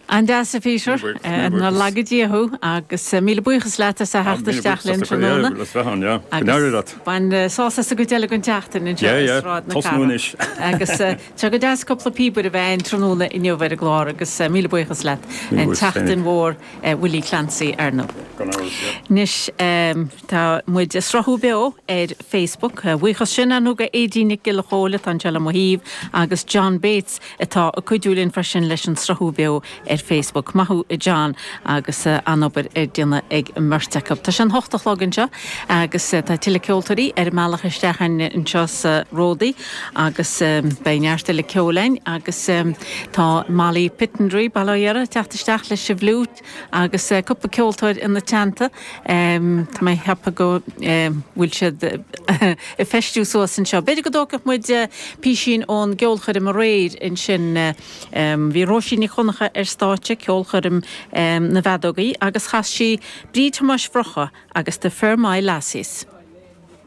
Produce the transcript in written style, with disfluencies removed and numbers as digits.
An-deas a Peter. Nár laga Dia thú agus míle buíochas leat as a theacht isteach linn tráthnóna. Agus bain sásamh as an gcuid eile den tseachtain anseo i Sráid na Cathrach. Agus tá go deas cúpla píobaire a bheith againn tráthnóna inniu ar an gclár agus míle buíochas leat. An tseachtain mhór Willie Clancy ar ndóigh. Anois tá muid ag sruthú beo ar Facebook. Buíochas sin ar ndóigh go Aedín Nic Giolla Chóill atá anseo le mo thaobh agus John Bates atá ag cuidiú linn freisin leis an sruthú beo ar Facebook. Maith thú a John agus an-obair ar déanamh ag an mbeirt acu. Tá sé an hocht a chlog anseo agus tá tuilleadh ceoltóirí ar a mbealach isteach anseo sa Ródaí agus beidh neart eile ceoil againn agus tá Molly Pittendreigh, bail ó Dhia uirthi, ag teacht isteach leis an bhfliúit agus cúpla ceoltóir ina teannta. Tá mé ag ceapadh go bhfuil siad ag feistiú suas anseo. B'fhéidir go dtógfadh muid písín ón gceolchoirm aréir ansin. Bhí Róisín Nic Dhonncha ar stáitse, ceolchoirm na bhfeadógaí, agus chas sí Bríd Thomáis Mhurchadha agus The Fermoy Lassies.